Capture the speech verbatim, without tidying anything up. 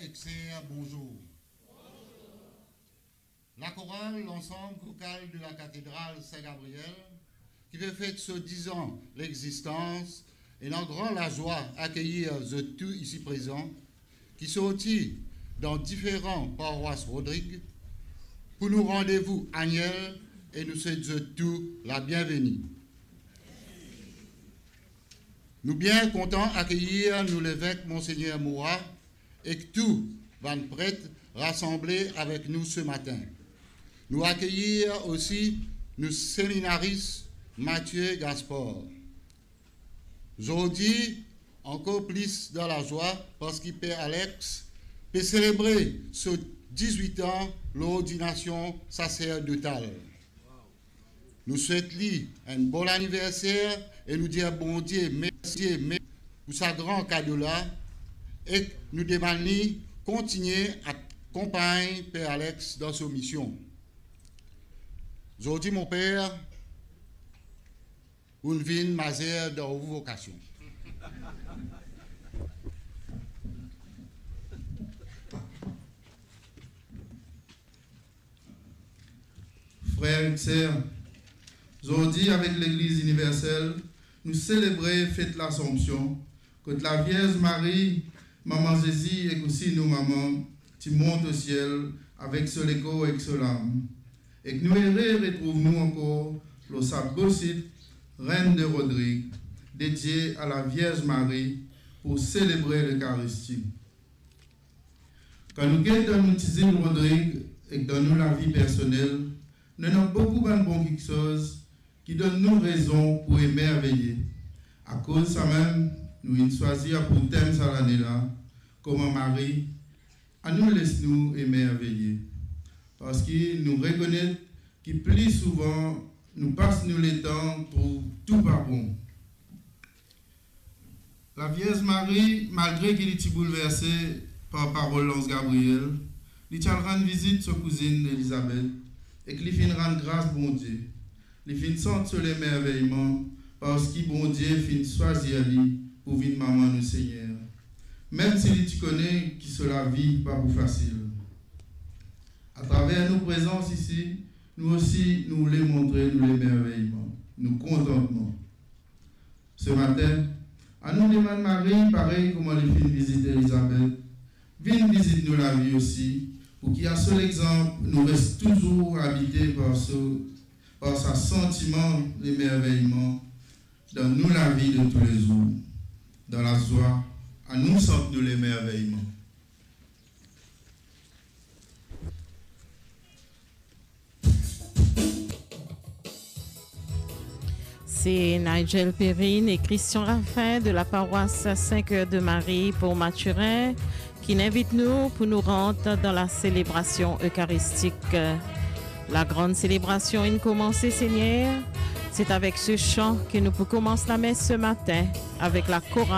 Ek ser, bonzour. Lakoral Lansam Vokal de Lakatedral Sin Gabriel, ki pe fet so diz an lexistans, ena gran lazwa akeyir zot tou isi prezan, ki sorti dan diferan parwas Rodrig, pou nou randevou anyel, e nou swet zot tou labienveni. Nou bien kontan akeyir nou levek Monsegner Moura ek tou bann pret rasanble avek nou se matin. Nou akeyir osi nou seminaris Mathieu Gaspard. Zordi, ankor plis dan lazwa, parski Per Alex pe selebre so dizwit an lordinasion saserdotal. Nou swet li enn bon aniverser e nou dir Bondie mersi, mersi pou sa gran kado la, ek nou demann li kontigne akonpagn Per Alex dan so mision. Zordi, mo per, ou'nn vinn mazer dan ou vokasion. Frer ek ser, zordi avek Legliz Iniversel, nou selebre fet Lasanpsion, kot Lavierz Mari, Mama Zezi ek osi nou mama, ti mont osiel avek so lekor ek so lam. Ek nou ere retrouv nou ankor lor sa bo sit, Reine de Rodrigue, dedie a Lavierz Mari, pou selebre Lekaristi. Kan nou get dan nou ti zil Rodrig ek dan nou lavi personel, nou ena boukou bann bon kiksoz ki donn nou rezon pou emerveye. Akoz samem, nou inn swazir pou tem sa lane la, kouma Mari, anou les nou emerveye. Parski nou rekonet ki pli souvan nou pas nou letan trouv tou pa bon. Lavierz Mari, malgre ki li ti boulverse par parol lanz Gabriel, li ti al rann vizit so kouzinn Elizabet ek li finn rann gras Bondie. Li finn sant so lemerveyman parski Bondie finn swazir li pou vinn mama nou Segner, mem si li ti kone ki so lavi pa pou fasil. Atraver nou prezans isi, nou osi nou oule montre nou lemerveyman, nou kontantman. Se matin, anou demann Mari, parey kouma li finn vizit Elizabet, vinn vizit nou lavi osi, pou ki a so lexanp nou res touzour abite par so, par sa santiman lemerveyman dan nou lavi de toulezour. Dan lazwa, anou sant nou lemerveyman. C'est Nigel Perrine et Christian Raffin de la paroisse Saint-Cœur de Marie pour Mathurin qui invite nous pour nous rendre dans la célébration eucharistique. La grande célébration in komanse, Seigneur. C'est avec ce chant que nous commençons la messe ce matin avec la chorale.